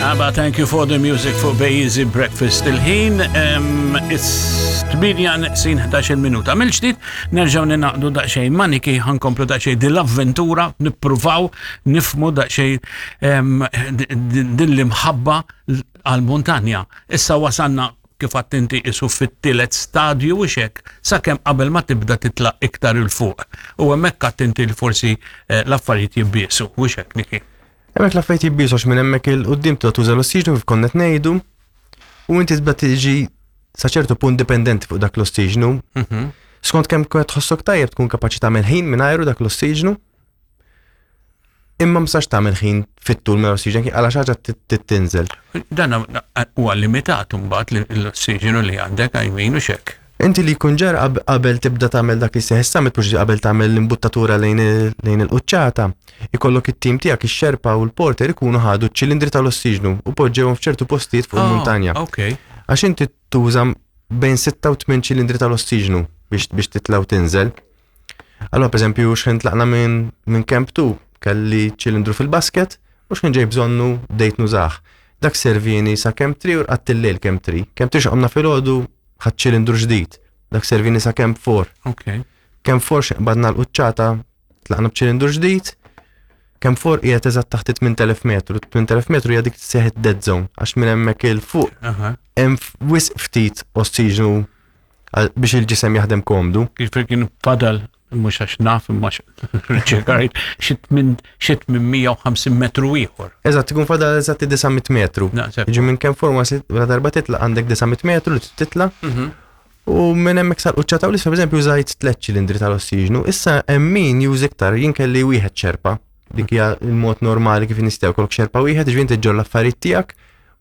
Abba, thank you for the music for Easy Breakfast. Il-ħin, it's 8 neqsin 11 minuta. Mill-ġdid, nerġaw ninaqdu daqxejn maniki, ħankomplu daqxejn din l-avventura, nippruvaw nifmu daqxejn din l-imħabba għal-montanja. Issa wasanna kif għedt inti isu fit-tielet stadju u xek, sakemm qabel ma tibda titla' iktar 'il fuq. U hemmhekk għedt inti li forsi l-affarijiet jibbiesu, u xek, Niki. Hemmhekk l-affarijiet jibbiesu għax minn hemmhekk 'il quddiem tibda tuża l-ossiġnu kif konna qed ngħidu u inti tibda tiġi sa ċertu punt dipendenti fuq dak l-ossiġnu. Skont kemm qed tħossok tajjeb tkun kapaċi tagħmel ħin mingħajru dak l-ossiġnu. Imma ma tistax tagħmel ħin fit-tul minn ossiġen għala xi ħaġa tinżel. Dan huwa limitat imbagħad l-ossiġenu li għandek għajmin u xek. Inti li jkun ġara qabel tibda tagħmel dak li seħ summit mhux qabel tagħmel l-imbuttatura lejn il-quċċata, ikollok it-tim tiegħek ix-xerpa u l-porter ikunu ħadu ċ-ċilindri tal-ossiġnu u poġġewhom f'ċertu postijiet fuq il-muntanja. Għax inti tuża bejn 6 u 8 ċilindri tal-ossiġnu biex titla' u tinżel. Allora, per eżempju, xħin tlaqna minn Camp 2, kelli ċilindru fil-basket u xħin ġej bżonnu bdejt nużah. Dak servini sa Camp 3 u rqadt il-lejl Camp 3. Camp 3 x'qomna filgħodu ħadt ċilindru ġdid. Dak servini sa Camp 4. Camp 4 x'qbadna l-quċċata tlaqna b'ċilindru ġdid. Camp 4 qiegħed eżatt taħt 8000 metru. 8000 metru hija dik tseħ dead zone għax minn hemmhekk 'il fuq hemm wisq ftit ossiġnu biex il-ġisem jaħdem komdu. Kif kien fadal mhux għax naf imma riċerkajt xi 850 metru ieħor. Eżatt, ikun fadal eżatt 900 metru. Ġi minn Camp four la darba titla' għandek 900 metru li titla'. U minn hemmhekk sal-quċċata u l-isfel, pereżempju, użajt tliet ċilindri tal-ossiġnu. Issa hemm min juża iktar, jien kelli wieħed xerpa. Dik hija l-mod normali kif nistgħu kollok xerpa wieħed, ġifieri inti ġġorr l-affarijiet tiegħek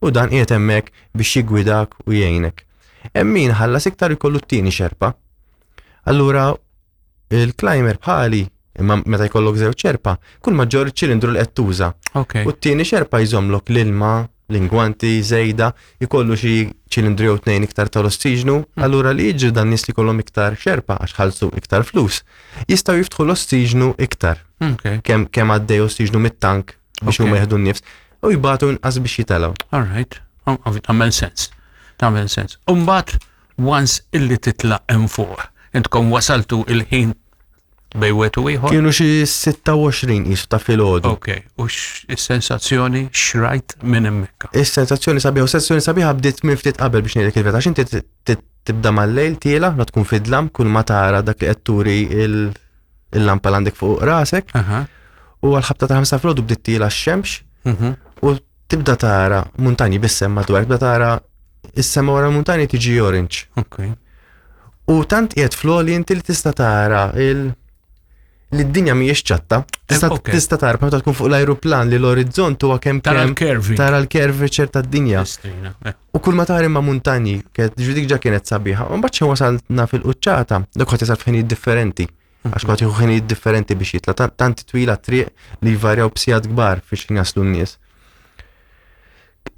u dan qiegħed hemmhekk biex jiggwidak u jgħinek. Hemm min ħallas iktar jkollu t-tieni xerpa. Allura il-climber bħali imma meta jkollok żewġ xerpa, kull ma ġġorr ċilindru li qed tuża. U t-tieni xerpa jżommlok l-ilma, l-ingwanti, żejda, jkollu xi ċilindru jew tnejn iktar tal-ossiġnu, allura li jiġri dan nies li kollhom iktar xerpa għax ħallsu iktar flus, jistgħu jiftħu l-ossiġnu iktar. Kemm għaddej ossiġnu mit-tank biex huma jieħdu n-nifs u jbatu inqas biex jitilgħu. All right. Oh, tagħmel sens. Tagħmel sens. Umbagħad once illi titla' hemm fuq, intkom wasaltu il-ħin bejn wieħed u ieħor? Kienu xi 26 qisu ta' filgħodu. Ok, u x-sensazzjoni xrajt minn hemmhekk? Is-sensazzjoni sabiħa, u sensazzjoni sabiħa bdiet minn ftit qabel biex ngħidlek il-verità, għax inti tibda mal-lejl tiela, la tkun fid-dlam, kull ma tara dak li qed turi il-lampa l għandek fuq rasek. U għal-ħabta ta' 5 filgħodu bdiet tiela x-xemx u tibda tara muntanji bis-sema madwar, tibda tara is-sema wara l-muntanji tiġi orange. U tant qiegħed fl-għoli inti li tista' tara il li d-dinja mhijiex ċatta. Tista' tara meta tkun fuq l-ajruplan li l-orizzont huwa kemm Tara l-curving. Tara l-curvature tad-dinja. Istrina. U kull ma tara imma muntanji, kienet dik ġa kienet sabiħa. U mbagħad xejn wasalna fil-quċċata, dak ħadd jasal f'ħinijiet differenti. Għax kulħadd jieħu ħinijiet differenti biex jitla' tant twila triq li jvarjaw b'sigħat kbar fiex ħin jaslu n-nies.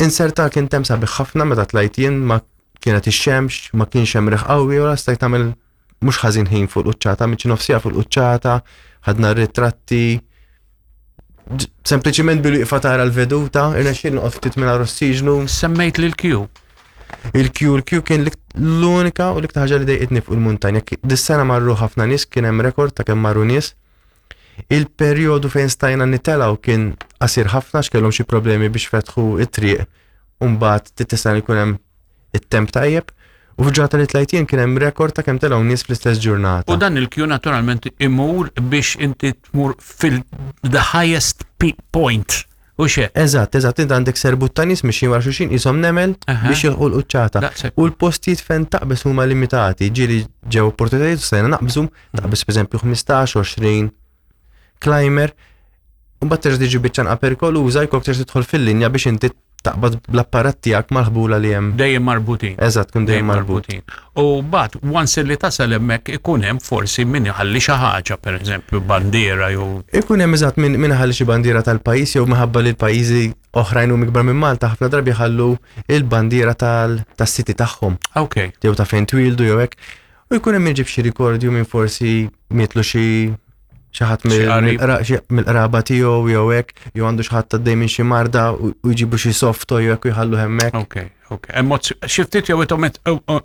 Inserta kien tem sabiħ ħafna meta tlajt jien ma kienet ix-xemx, ma kienx hemm riħ qawwi u stajt tagħmel mhux ħażin ħin fuq l-quċċata, miċ nofsija fuq l-quċċata, ħadna ritratti. Sempliċiment bil-wieqfa tara l-veduta, irnexxiel noqgħod ftit mingħajr ossiġnu. Semmejt lil Q. Il-Q, il-Q kien l-unika u l-iktar ħaġa li dejqitni fuq il-muntanja. Dis-sena marru ħafna nies, kien hemm rekord ta' kemm marru nies. Il-perjodu fejn stajna nitelgħu kien qasir ħafna x'kellhom xi problemi biex fetħu it-triq u mbagħad titista' jkun hemm it-temp tajjeb. U f'ġurnata li tlajt jien kien hemm rekord ta' kemm telgħu nies fl-istess ġurnata. U dan il-Q naturalment imur biex inti tmur fil the highest point. U xe? Eżatt, inti għandek serbut ta' nies mixjin wara xulxin qishom nemel biex jilħqu l-quċċata. U l-postijiet fejn taqbeż huma limitati, ġieli ġew opportunitajiet u stajna naqbżu, taqbeż pereżempju 15, 20 climber, u mbagħad terġa' tiġi biċċa nqa' perikoluża, jkollok terġa' tidħol fil-linja biex inti taqbad bl-apparat tiegħek mal-ħbula li hemm. Dejjem marbutin. Eżatt, kun dejjem marbutin. U mbagħad once li tasal hemmhekk ikun hemm forsi min iħalli xi ħaġa, pereżempju bandiera jew Ikun hemm eżatt min iħalli xi bandiera tal-pajjiż jew minħabba li l-pajjiżi oħrajn huma ikbar minn Malta ħafna drabi jħallu il-bandiera tas-city tagħhom. Jew ta' fejn twildu jew hekk. U jkun hemm min ġib xi rikordju minn forsi mietlu xi Xi ħadd mill-qraba tiegħu jew hekk, jew għandu xi ħadd għaddej minn xi marda u jġibu xi soft jew hekk u jħallu hemmhekk. Ok, ok. Xi ftit jew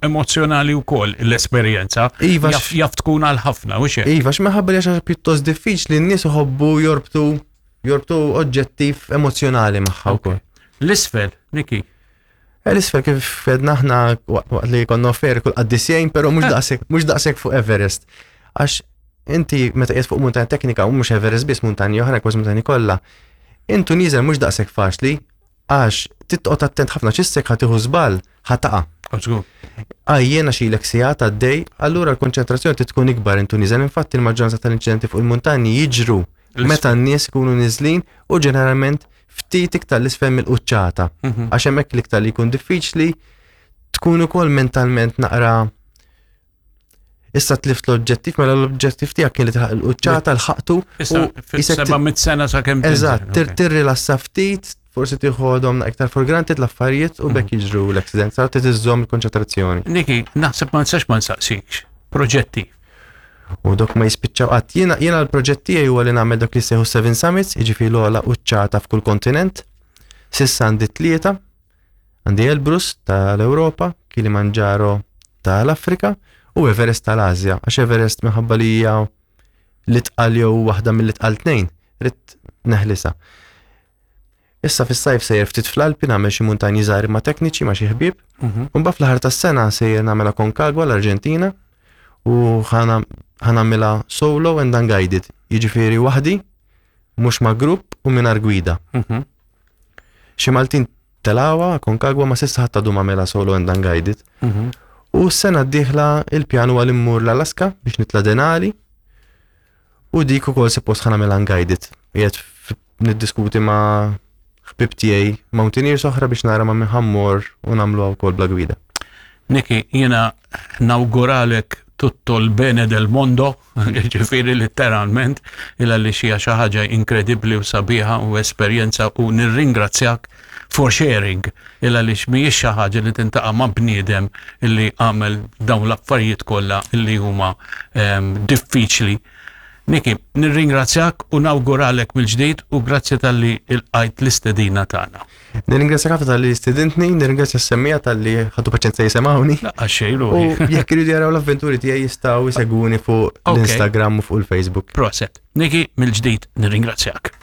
emozzjonali wkoll l-esperjenza. Iva, jaf tkun għal ħafna u xejn. Iva, x'minħabba li xi pjuttost diffiċli n-nies iħobbu jorbtu jorbtu oġġettiv emozzjonali magħha wkoll. L-isfel, Niki. Eh, l-isfel kif fedna aħna waqt li konna offer kull qaddisjejn, però mhux eh. daqshekk mhux daqshekk fuq Everest. Għax inti meta qiegħed fuq muntanja teknika u mhux Everest biss muntanji oħra kważi muntanji kollha. Intu nieżel mhux daqshekk faċli għax titqgħod attent ħafna x'issek ħa tieħu żball ħa taqa'. Għajjena xilek sigħat għaddej, allura l-konċentrazzjoni trid tkun ikbar intu nieżel. Infatti il-maġġoranza tal-inċidenti fuq il-muntanji jiġru meta n-nies ikunu niżlin u ġeneralment ftit iktar l-isfel mill-quċċata. Mhm. Għax hemmhekk l-iktar li jkun diffiċli tkun ukoll mentalment naqra Issa tlift l-oġġettiv, mela l-oġġettiv tiegħek kien li tilħaq il-quċċata l-ħaqtu. Issa 700 sena sakemm. Eżatt, tirrilassa ftit, forsi tieħodhom iktar for granted l-affarijiet u bekk mhm. jiġru l-accident, sa trid iżżomm il-konċentrazzjoni. Niki, naħseb ma nistax ma nsaqsikx. Proġetti. U dok ma jispiċċaw qatt. Jiena jiena l-proġett tiegħi huwa li nagħmel dak li jsejħu Seven Summits, jiġifieri l-ogħla quċċata f'kull kontinent. Sissa għandi tlieta. Għandi Elbrus tal-Ewropa, Kilimanjaro tal-Afrika u Everest tal-Asja. Għax Everest minħabba li hija l-itqal jew waħda mill-itqal tnejn, ridt neħlisa. Issa fis-sajf sejjer ftit fl-Alpi nagħmel xi muntanji żgħar imma tekniċi ma' xi ħbieb. Mhm. U mbagħad fl-aħħar tas-sena sejjer nagħmel Aconcagua l-Arġentina u ħanamilha solo and unguided. Jiġifieri waħdi, mhux ma' grupp u mingħajr gwida. Mhm. Xi Maltin telgħuha Aconcagua ma s'issa ħadd għadu m'għamilha solo and unguided. Mhm. U s-sena d-dieħla il-pjan huwa li mmur l-Alaska biex nitla' Denali U dik ukoll suppost ħa nagħmilha unguided. Qiegħed niddiskuti ma' ħbieb tiegħi mountaineers oħra biex nara ma' min ħammur u nagħmluha wkoll bla gwida. Niki, jiena nawguralek tutto l-bene del mondo, ġifiri letteralment, illa li xija xi ħaġa inkredibbli u sabiħa u esperjenza u nirringrazzjak for sharing il għaliex mhijiex xi ħaġa li tintaqa' ma' bniedem illi għamel dawn l-affarijiet kollha illi huma ehm, diffiċli. Niki, nirringrazzjak u nawguralek mill-ġdid u grazzi talli ilqajt l-istedina tagħna. Nirringrazzjak ħafna talli stedintni, nirringrazzja s-semmija talli ħadu paċenza jisemgħuni. Laqqa xejn U jekk iridu jaraw l-avventuri tiegħi jistgħu jsegwuni fuq l-Instagram u fuq il-Facebook. Proset. Niki, mill-ġdid nirringrazzjak.